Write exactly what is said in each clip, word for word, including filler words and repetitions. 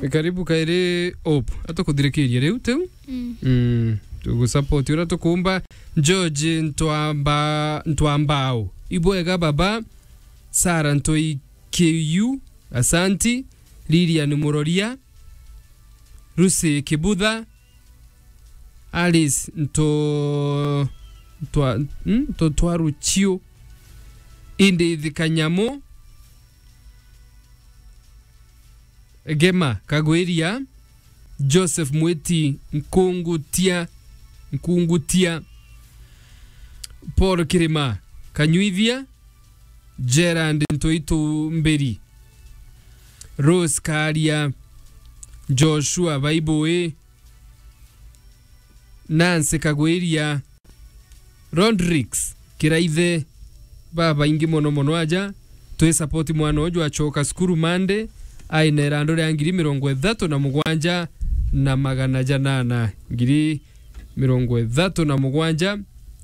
Karibu kairi Hope. Atukuthirikiria riu tiu. Mm. Mm. Tugusupport uria tukumba. George Ntwamba-, Ntwambao. Ibwega baba. Sarah Ntoi K U. Asanti. Lilian Muroria. Lucy Kibutha. Alice Nto-, Ntwa-, mm, Ntotwaruchio. Edith Kanyamu. Gema Kagwiria, Joseph Mwiti Nkungutia, Nkungutia, Paul Kirima Kanyuithia, Gerard Ntoitumbiri, Rose Karia, Joshua Baibui, Nancy Kagwiria, Rodrix Kiraithe, babaingi mono mono aja, twi support mwana uju acoka cukuru Monday, aina irandu ria ngiri mirongo ithatu na mugwanja na magana janana, ngiri mirongo ithatu na mugwanja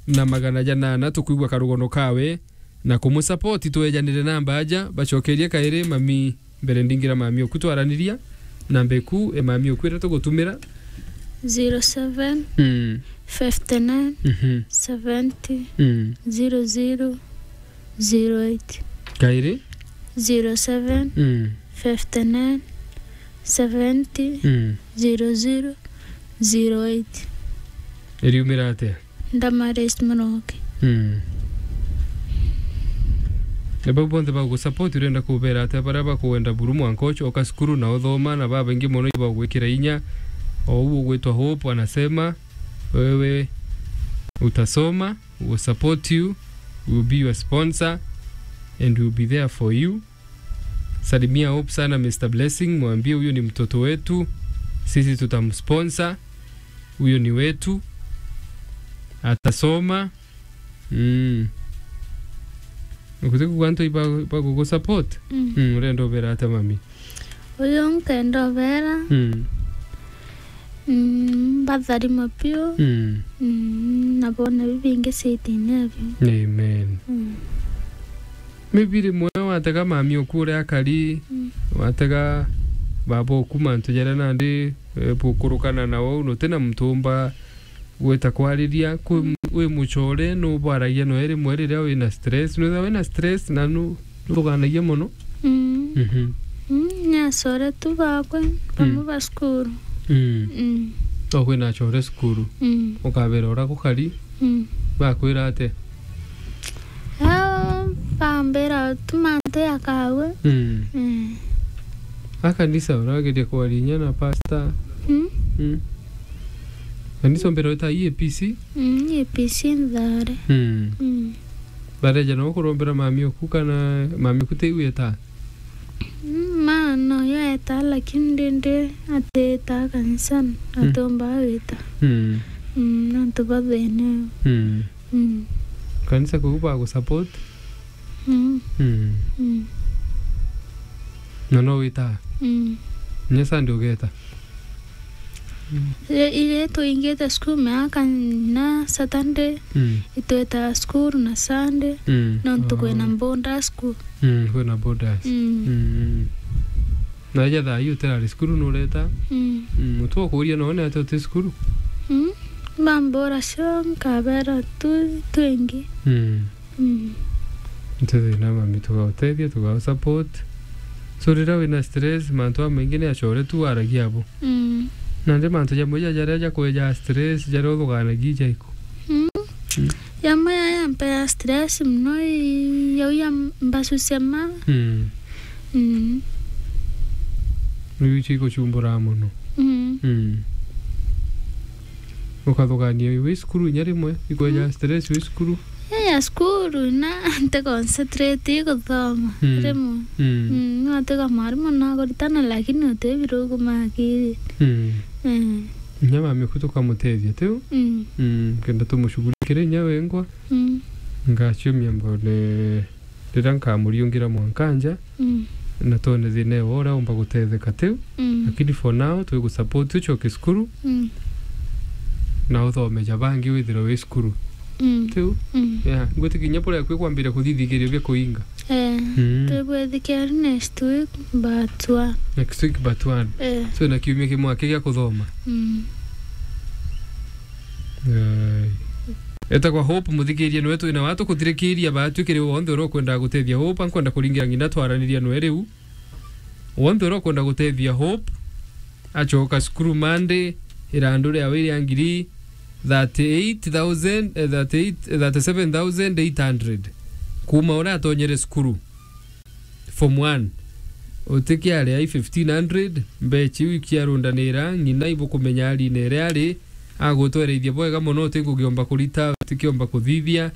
na magana janana, tukwigua karugono kawe, na kumusupport, twejanire namba aja, bacokerie kairi mami, mbere ndingira mami oku twaraniria, namba eku e mami oku iria tugutumira. Zero seven, Mm. fifty nine, Mhm. seventy, Mm. zero zero, zero eight. Kairi? Zero seven, Mm. fifty nine, seventy, Mm. zero zero, zero eight. Iriumira atia? Damaris Muroki. Mm. Na bau bonthe bagusupport, urenda kubera atia baria bakwenda buru mwanka ucoka cukuru na uthoma, na babaingi mono ibagwikira inya? O uu ugwitwa Hope anasema, wewe utasoma, we will support you, we will be your sponsor, and we will be there for you. Salimia Hope sana, Mister Blessing, mwambie huyo ni mtoto wetu, sisi tutamsponsor, huyo ni wetu, atasoma. Mm. Ukuti kugwa antu iba-, ibagugusupport? Mm. Mm, urenda ubera atia mami? Uyu nkenda ubera. Mm. Mm, mbatharima piu. Mm. Mm, na boone bibingi ciitine biu. Amen. Mm. Maybe rimwe watega mami oku uria akari, Mm. watega baba oku mantu jaria nandi, eh, bukurukana na uu, nuti na muntu umba gwita kwariria, kwi, Mm. wi mucore, nubwaragia noe rimwe riria wina stress. Nwithirwa wina stress na nu-, nuthuganagia mono. Mm. Mhm. Mm, ni acore tu bakwe, bamwe Mm. ba cukuru. Mm. Mm. O kwina acore cukuru. Mm. Ukabera uria gukari, Mm. bakwira atia? Ao bambira tu mantu ya kawe. Mm. Mm. A kanisa urageria kwaria inya na pastor. Mm. Mm. Kanisa umbira wita E A P C? Mm, E A P C nthare. Mm. Mm. Bareja no kurombera mami oku kana mami oku tiu wita? Mm, ma no yo eta, lakini ndindi atiita kanisani, Mm. atomba wita. Mm. Mm, nontu bwa thina iyo. Mm. Mm. Kanisa kuu bagusupport? Mm. Mm. Mm. Na no wita? Mm. Nya Sunday ugeta? Mm. Ire, ire tuingite cukuru miaka na Saturday, Mm. itweta cukuru na Sunday, Mm. nontu kwina Oh. boarders cukuru. Mm, kwina boarders. Mm. Mm. Na ija thaa ii utirari cukuru nureta? Mm. Mm, mutu okuria none ati uti cukuru? Mm. Bambura cio nkabera tu twingi. Mm. Mm. Nti thina mami, tugautethia, tugau support. So riria wina stress, mantu jamaingi ni acore tu waragia abo. Mm. Nandi mantu jamwe ja jaria jakweja stress, jaria uthuganagia jaiku? Mm. Mm. Jamwe ya yampea stress mono i, yau ya mbasu cia ma. Mm. Mm. Niu icio igucumbura mono. Mm. Mm. Ukathugania wi cukuru inya rimwe, ikweja Mm. stress wi cukuru. Ii ya cukuru na nti concentrate guthoma Mm. rimwe. Mm. Mm, no tiga mwarimu nakuritana lakini uti birugu makiri. Mm. Mm. Inya mami oku tukamutethia tiu? Mm. Mm, kenda tumushughulikire inya wengwa. Mm. Ngaciumia mbone riria nkamuriungira mwanka nja, Mm. na twone thina ewe uria umba gutetheka tiu. Mm. Lakini for now, twigusupport ucoke cukuru, Mm. na uthome ja bangi withirwe wi cukuru. Mm. Tiu? Mm. Yeah, ngwitikia kinya buria kwi kwambire kuthithikirio bia kuinga. Eh, mm, twibwithikia next week, but one. Next week, but one. Eh. So, na kiumia kimwe aki gia kuthoma. Mm. Ai. Etagwa Hope, muthikiria niwe twina wa tukuthirikiria, baatwi kiri wonthe uria ukwenda gutethia Hope, ankwenda kuringira ngina twaraniria nwe riu. Wonthe uria ukwenda gutethia Hope, acoka cukuru Monday, irandu riawe ria ngiri thirty-eight thousand, eh, thirty-eight, eh, thirty-seven thousand eight hundred. Kuuma uria atonyere cukuru. Form one. Utikiaria i fifteen hundred, mbecha iu ikiarundanira, ng'ina ibukumenya arine iria ari, agutwereithia bwega mono, uti ngugiomba kurita, utikiomba kuthithia,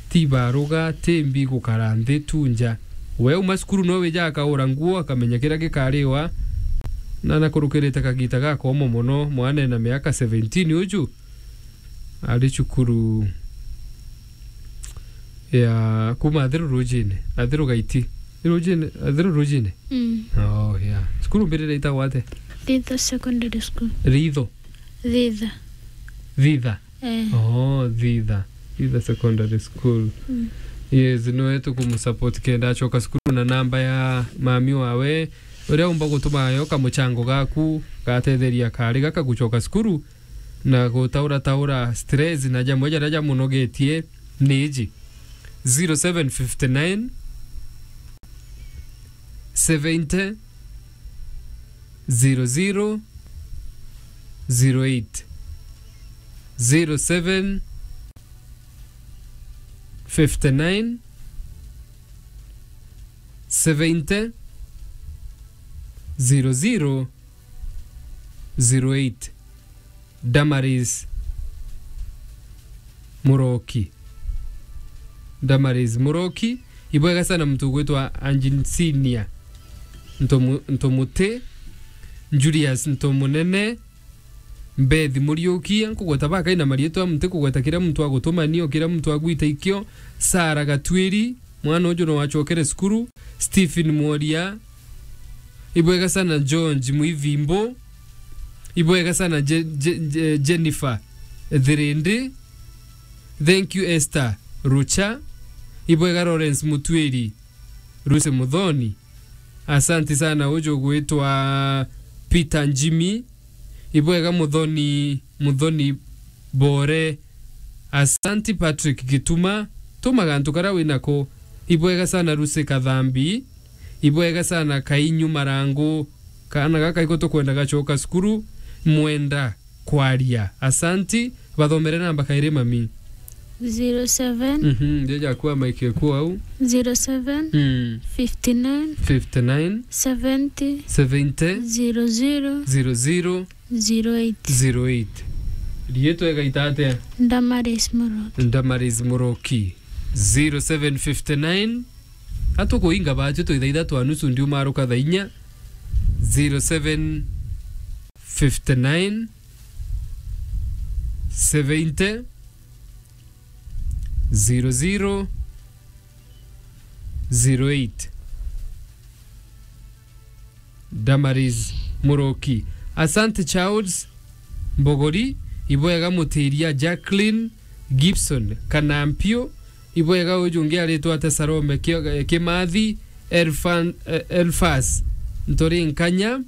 ti baruga, ti mbi gukara nthi tu nja. We uma cukuru no wija akaura nguo, akamenya kiria gikariwa, na nakurukirite kagita gakomo mono, mwana ena miaka seventeen uju, ari cukuru ya kuma Athiru Rujine, Athiru Gaiti. Rujine, Athiru Rujine? Mm. Oh, yeah. Cukuru mbirire itagwa atia? Thitha Secondary School. Ritho? Thitha. Thitha? Eh. Oh, Thitha. Thitha Secondary School. Mm. Yes, niwe tukumusupport kenda acoka cukuru na namba ya mami wawe, uria umba gutuma yo kamuchango gaku gatetheria kari gaka gucoka cukuru. Na gutaura taura stress na jamwe jaria jamunogetie ni iji: zero seven fifty nine, seventy, zero zero, zero eight, zero seven fifty nine, seventy, zero zero, zero eight. Damaris Muroki. Damaris Muroki. Ibwega sana mtu gwitwa Anjinsinia Ntomu-, Ntomuti, Julius Ntomunene, Beth Muriuki, nkugweta bakai na marietwa, mti kugweta kira muntu agutumania, kira muntu agwita ikio, Sara Gatwiri, mwana uju no wachokere cukuru, Stephen Mworia, ibwega sana George Mwivimbo, ibwega sana Je-, Je-, Je-, Jennifer Thirindi, thank you Esther Rucha, ibwega Lawrence Mutwiri, Lucy Muthoni, asanti sana uju gwitwa Peter Njimi, ibwega Muthoni, Muthoni Bore, asanti Patrick Gituma, tuma gantu karia winako, ibwega sana Lucy Kathambi, ibwega sana Kainyu Marangu, kaana gaka iko tukwenda gacoka cukuru, mwenda kwaria. Asanti, bathomere namba kairi mami. Zero seven. Mhm, ndio jakuwa mike kwa au. Zero seven. Mm. Fifty nine. Fifty nine. Seventy. Seventy. Zero zero. Zero zero. Zero eight. Zero eight. Rietwa igaita atia? Damaris Muroki. Damaris Muroki. Zero seven fifty nine. Atukuinga bachu twithaitha twa nusu ndiumaruka thaa inya. Zero seven fifty nine, seventy, zero zero, zero eight. Damaris Muroki. Asante Charles Mbogori, ibwega mutiria Jacqueline Gibson Kanampio, ibwega uju ungi aritwa ate Salome Kio-, Kimathi, Elfan-, eh, Elfas Ntorinkanya,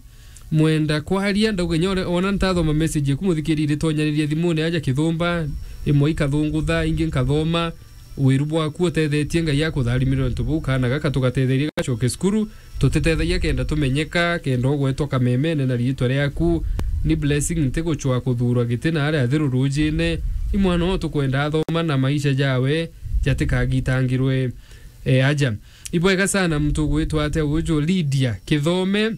mwenda kwaria, ndauga inya ore-, ona ntathoma message eku muthikiri iritonyaniria thimune aja kithumba, imwe ikathungutha, ingi nkathoma, wiru bwaku utethetie, Ngai akutharimire untu buu, kaana gaka tugatetherie gacoke cukuru, tutitethagia kenda tumenyeka, kenda ugwetwa kamemene na riitwa riaku, ni blessing, ntigucwa kuthuurwa giti na aria athiru ruujine, i mwana uu tukwenda athoma na maisha jawe jatikagitangirwe, e, aja. Ibwega sana muntu ugwitwa atia uju, Lydia Kithome,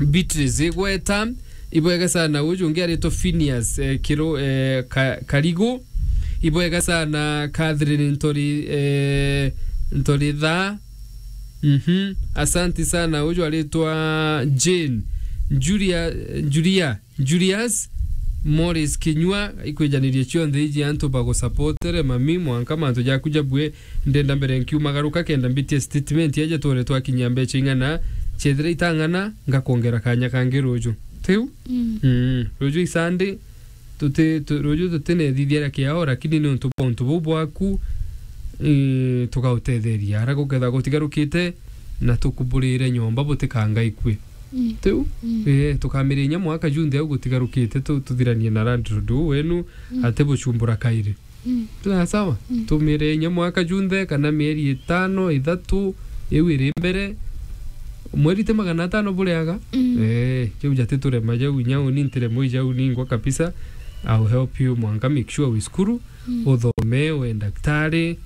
Beatrice Igweta, ibwega sana. Uju ungi aritwa Phineas, eh, Kiro-, eh, Ka-, Karigu, ibwega sana. Catherine Ntori-, eh, Ntoritha, mhm, asanti sana. Uju aritwa Jane, Julia, Julia, Julius, Morris Kinyua, ikwijanirie cionthe iji antu bagusapotere, mami, mwanka mantu jaku jabue. Ndenda mbere nkiumagaruka kenda mbitie statement eja twore twakinyia mbecha ing'ana, chethira itang'ana, ngakwongera kanya kangi ruju. Tiu? Mm. Mm. Ruju i Sunday, tuti, tu-, ruju tutinethithia ria kiao, lakini ni untu bwa untu buu bwaku, ii, tugautetheria. Ara guketha gutigarukite, na tukuburire nyomba butikangaikue. Mm. Tiu? Mm. Ee, tukamiria inya mwaka junthe au gutigarukite, tu-, tuthiranie na landlord uu wenu, mm, ati bucumbura kairi. Mm. Sawa sawa? Mm. Tumire inya mwaka junthe, kana mieri itano, ithatu, iu iri mbere. Mweri ti magana atano buriaga? Mm. Ee, kiu jati turema jau, inya uni ntiremo ijau ningwa kabisa. I'll help you mwanka, make sure wi cukuru, mm, uthome, we ndaktari,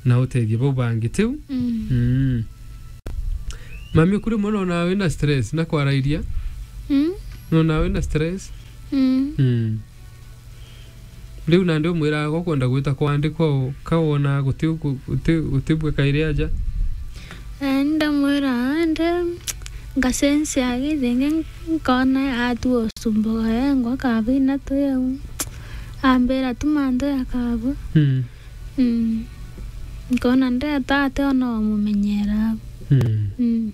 na utethie bau bangi, tiu? Mm. Mm. Mami, kuri mwana ona wina stress, na kwarairia? Mm. Nona wina stress? Mm. Mm. Riu nandi umwiraga ukwenda gwita kwandikwa u, ka wona guti uku-, guti, gutibua kairi aja? Eh, ndamwira ande, ngacensia githingi, nkona atua ucumbuka engwa kabina tu yau. Ambira tu mantu ya kabua. Mm. Mm. Nkona ndeta ati ona wamumenyera. Mm. Mm.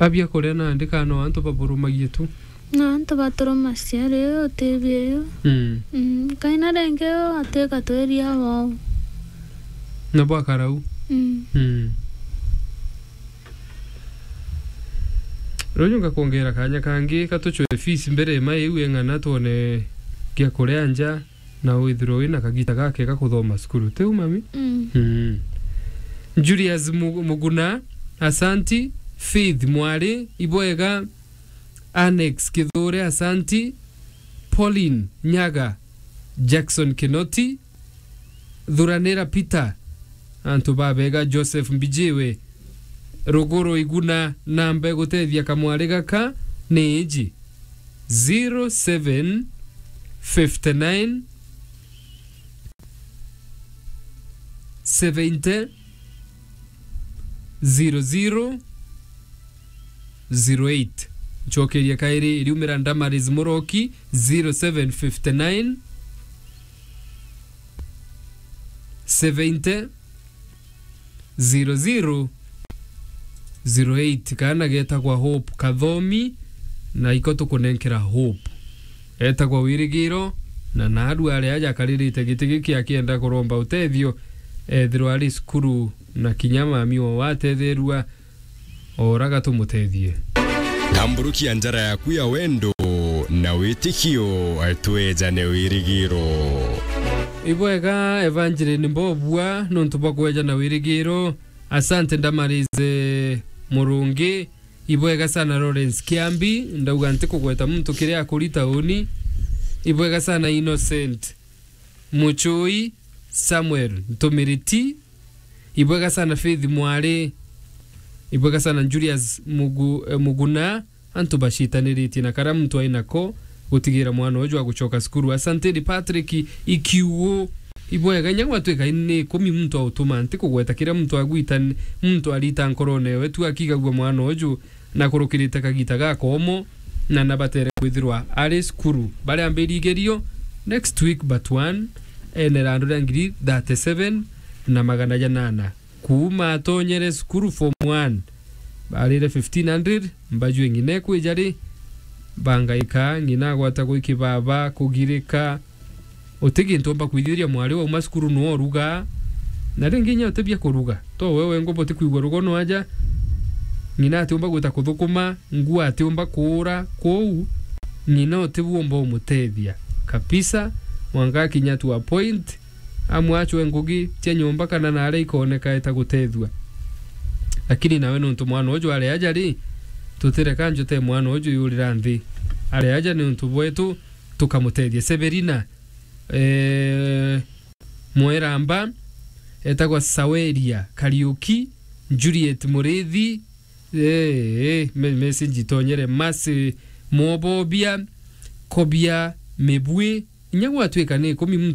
Abia kuria nandi kana antu baburumagie tu? Na antu baturumacia ri utibia yu. Mm. Mm, kaina ringi yu atwika twiria wau. Na bwakarau. Mm. Mm. Ruju ngakwongera kanya kangi, katuchwe fees mbere ma iu eng'ana twone gia kuria nja, na withirwe wina kagita gake ga kuthoma cukuru. Tiu, mami? Mm. Mm. Julius Mu-, Muguna, asanti. Faith Mwari, ibwega. Annex Kithure, asanti. Pauline Nyaga, Jackson Kinoti, Thuranira Peter, antu babega, Joseph Mbijiwe, Ruguru Iguna, namba igutethia kamwari gaka ni iji, zero seven fifty nine, seventy, zero zero zero eight. Ncokeria kairi, iriumira Damaris Muroki, zero seven fifty nine, seventy, zero zero zero eight. Kaana getagwa Hope Kathomi, na iko tukunenkera Hope. Etagwa Wirigiro, na naarua aria aja akaririte giti giki akienda kuromba utethio, ethirwa ari cukuru, na kinya mami o watetherua, oraga tumutethie. Tamburukia njara yaku ya wendo na witikio, twejane wirigiro. Ibwega, Evangeline Mbobua, nontu bwa kwejana wirigiro. Asante, Ndamarize Murungi. Ibwega sana, Lawrence Kiambi. Ndauga ntikugweta muntu kiria akuri tauni. Ibwega sana, Innocent Muchui, Samuel Ntumiriti. Ibwega sana, Faith Mwari. Ibwega sana, Julius Mugu-, eh, Muguna. Antu bacitaniritie na karia muntu ai nako gutigira mwana uju agucoka cukuru. Asanteni, Patrick Ikiugu. Ibwega, inya gwatwika ni ikumi muntu autuma, ntikugweta kiria muntu agwita, muntu arita nkorone ewe tu akigagua mwana uju na kurukirite kagita gakomo, na nabatere kwithirwa ari cukuru. Baria mbiri igerio next week, but one, ene randu ria ngiri thirty-seven na magana janana. Kuuma atonyere cukuru form one, barire fifteen hundred, mbajue ng'ina ekwija ri, bangaika, ng'ina agwata gwiki baba, kugirika, uti gintu omba kwithiria mwari wauma cukuru nwe uruga, na ringi inya uti bia kuruga, to we wengwa buti kwigua rugono aja, ng'ina atiumba gwita kuthukuma, nguo atiumba kuura, kwou ng'ina uti bu omba umutethia kabisa, mwanka akinya to a point, amwe acwe ngugi cia nyomba kana naria ikoneka eta gutethua. Lakini nawe nontu mwana uju ari aja ri, tutireka njote mwana uju yurira nthi. Ari aja ni untu bwetu, tukamutethia. Severina, eh, Mweramba, etagwa Saweria Kariuki, Juliet Murithi, eh, eh, me-, message itonyere, Mercy Mwobobia, Kobia Mibwi, inya gwatwika ni ikumi muntu